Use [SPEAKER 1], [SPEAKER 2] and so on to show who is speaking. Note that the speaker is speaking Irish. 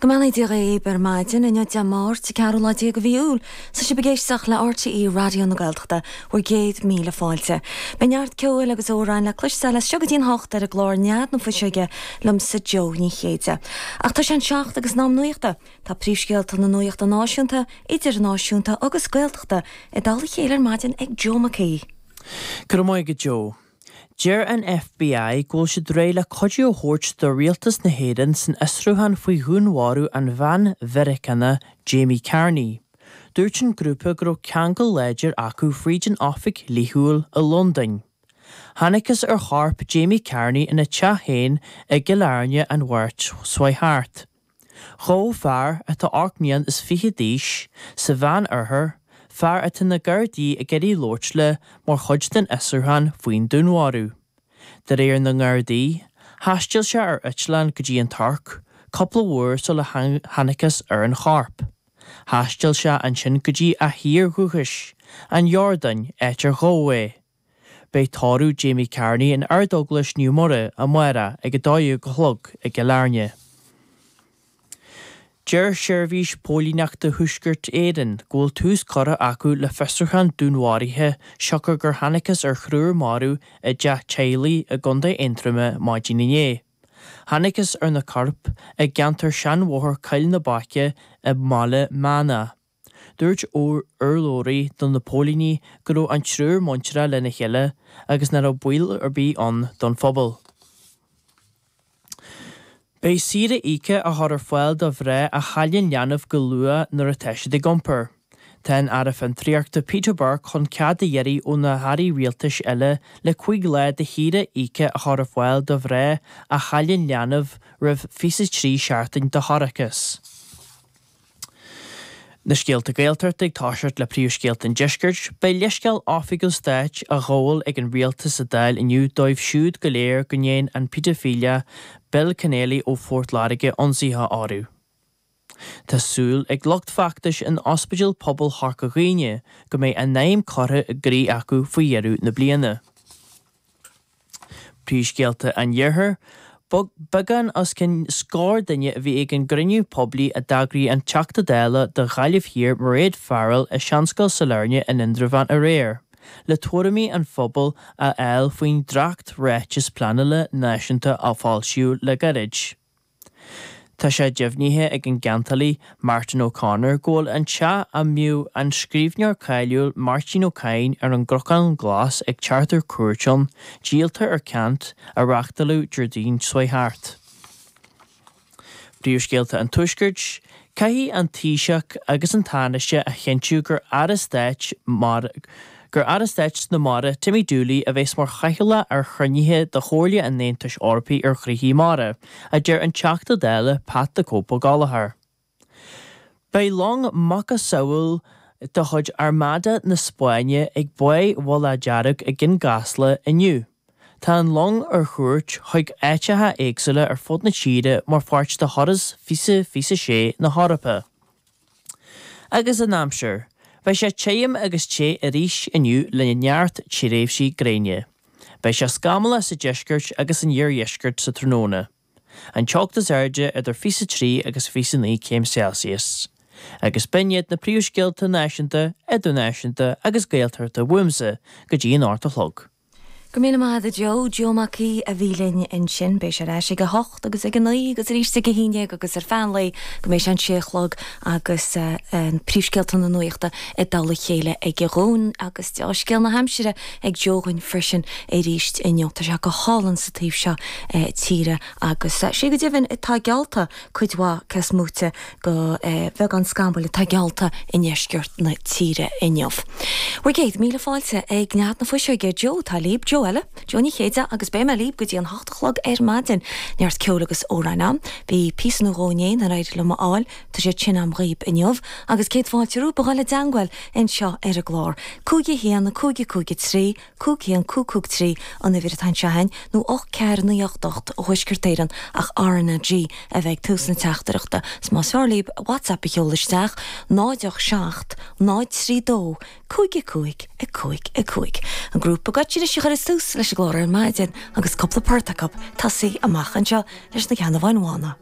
[SPEAKER 1] Go mbeannaí Dia dhaoib ar maidin, inniu Dé Máirt, an ceathrú lá déag de mhí Iúil. Tá sibh ag éisteacht le RTÉ Raidió na Gaeltachta, bhur gcéad míle fáilte. Beidh neart ceoil agus amhráin le cloisteáil as seo go dtí an hocht ar an gclár Nead na Fuiseoige liomsa Joe Ní Chéide. Ach tá sé an seacht agus in am nuachta. Tá príomhscéalta na nuachta náisiúnta, idirnáisiúnta agus Gaeltachta i dtoll a chéile ar maidin ag Joe Mac Aoidh.
[SPEAKER 2] Go raibh maith agat Joe. Deir an FBI go bhfuil siad réidh le cuidiú a thabhairt do rialtas na hÉireann san fhiosrúchán faoi dhúnmharú an bhean Mheiriceánach Jamie Carney. Dúirt an grúpa go raibh ceangal láidir acu fríd an oifig dhlíthiúil i Londain. Thángthas ar chorp Jamie Carney ina teach féin i gCill Airne an Mháirt seo thart. Ghabh fear, atá 28 mbliana d'aois, sa Mheánoirthear, fear atá na Gardaí ag iarraidh labhairt le mar chuid den fhiosrúchán faoin dúnmharú. De réir na nGardaí, thaistil sé ar eitleán go dtí an Tuirc cúpla uair sula thángthas ar an chorp. Thaistil sé ansin go dtí a thír dhúchais, an Iordáin, áit ar gabhadh é. Beidh tórramh Jamie Carney in Ardeaglais Naomh Muire amárach ag 12 a chlog i gCill Airne. Deir Seirbhís Póilíneachta Thuaisceart Éireann go bhfuil tús curtha acu le fiosrúchán dúnmharaithe siocair gur thángthas ar thriúr marbh i dteach teaghlaigh i gContae Aontroma maidin inné. Thángthas ar na coirp i gceantar Seanbhóthar Coill na Baice i mBaile Meanna. Dúirt urlabhraí do na póilíní go raibh an triúr muinteartha lena chéile agus nach raibh baol ar bith ann don phobal. Beidh saoire íoctha á chur ar fáil do mhná a chailleann leanbh go luath nuair atá siad ag iompar. Tá an Aire Fiontraíochta Peter Burke chun cead a iarraidh ó na hairí rialtais eile le 5 lá de shaoire íoctha a chur ar fáil do mhná a chailleann leanbh roimh 23 seachtain de thoircheas. Na scéalta Gaeltachta ag toiseacht le príomhscéalta an deiscirt, beidh leithscéal oifigiúil stáit á ghabháil ag an rialtas sa Dáil inniu dóibh siúd go léir go ndéan an pedophile Bill Conneely ó Phort Láirge ionsaithe orthu. Tá súil ag lucht feachtais in Ospidéal Pobail Chorca Dhuibhne go mbeidh a n-aidhm curtha i gcrích acu faoi dheireadh na bliana. Príomhscéalta an Iarthair, Beagán os cionn scór duine a bhí ag an gcruinniú poiblí a d'eagraigh an Teachta Dála do Ghaillimh Thiar Mairéad Farrell i Seanscoil Sailearna in Indreabhán aréir, le tuairimí an phobail a fháil faoin dréacht-Ráiteas Pleanála Náisiúnta a foilsíodh le gairid. Tá sé deimhnithe ag an gceantálaí Martin O'Connor go bhfuil an teach a mbíodh an scríbhneoir cáiliúil Máirtín Ó Cadhain ar an gCnocán Glas ag teacht ar cuairt ann, díolta ar ceant a reáchtáladh Déardaoin seo thart. Príomhscéalta an Tuaiscirt, Caithfidh an Taoiseach agus an Tánaiste a chinntiú gur Aire Stáit gur Aire Stáit na Mara Timmy Dooley a bheas mar chathaoirleach ar chruinnithe de Chomhairle an Aontais Eorpaigh ar Ghnoithí Mara, a deir an Teachta Dála Pat 'The Cope' Ó Gallchóir. Beidh long macasamhail de chuid Armada na Spáinne ag Báigh Mhullach Dearg i gCionn Caslach inniu. Tá an long ar chuairt chuig áiteacha éagsúla ar fud na tíre mar pháirt de thuras 2026 na hEorpa. Agus an aimsir. Beidh sé tirim agus te arís inniu le neart tréimhsí gréine. Beidh sé scamallach sa deisceart agus san iardheisceart sa tráthnóna. An teocht is airde idir 23 agus 29 céim Celsius. Agus b'in iad na príomhscéalta náisiúnta, idirnáisiúnta agus Gaeltachta uaimse go dtí an 8 a chlog.
[SPEAKER 1] Go raibh míle maith agat a Joe. Joe Mac Aoidh a bhí linn ansin. Beidh sé ar ais ag a hocht agus ag a naoi agus arís ag a haon déag agus ar feadh an lae go mbeidh sé an sé a chlog agus príomhscéalta na nuachta i dtoll a chéile aige dhúinn agus deá-scéal na haimsire ag Joe dhúinn freisin arís inniu. Tá sé go hálainn sa taobh seo tíre agus sé go deimhin tá geallta cuid mhaith cés móite de bheagán scamaill atá geallta i ndeisceart na tíre inniu. Bhur gcéad míle fáilte ag Nead na Fuiseoige, Joe atá libh, Joe eile, Joe Ní Chéide agus beidh mé libh go dtí an hocht a chlog ar maidin. Neart ceoil agus amhráin ann. Bhí píosa nó dhó inné nár éirigh liom a fháil, tá siad sin a'm dhaoib inniu. Agus céad fáilte romhaibh a dhul i dteangmháil anseo ar an gclár. 5 1 5 5 3 5 1 5 5 3 an uimhir atá anseo againn, nó 8 4 9 8 8 ó Thuaisceart Éireann ach RnaG a bheidh ag tús na teachtaireachta. 'S más fearr libh WhatsApp a sheoladh isteach, 0 8 7 0 3 2 5 5 5 5. An grúpa Goitse anois a chuireas tús leis an gclár ar maidin agus cúpla port acu tosaí amach anseo leis na Ceannabháin Bhána.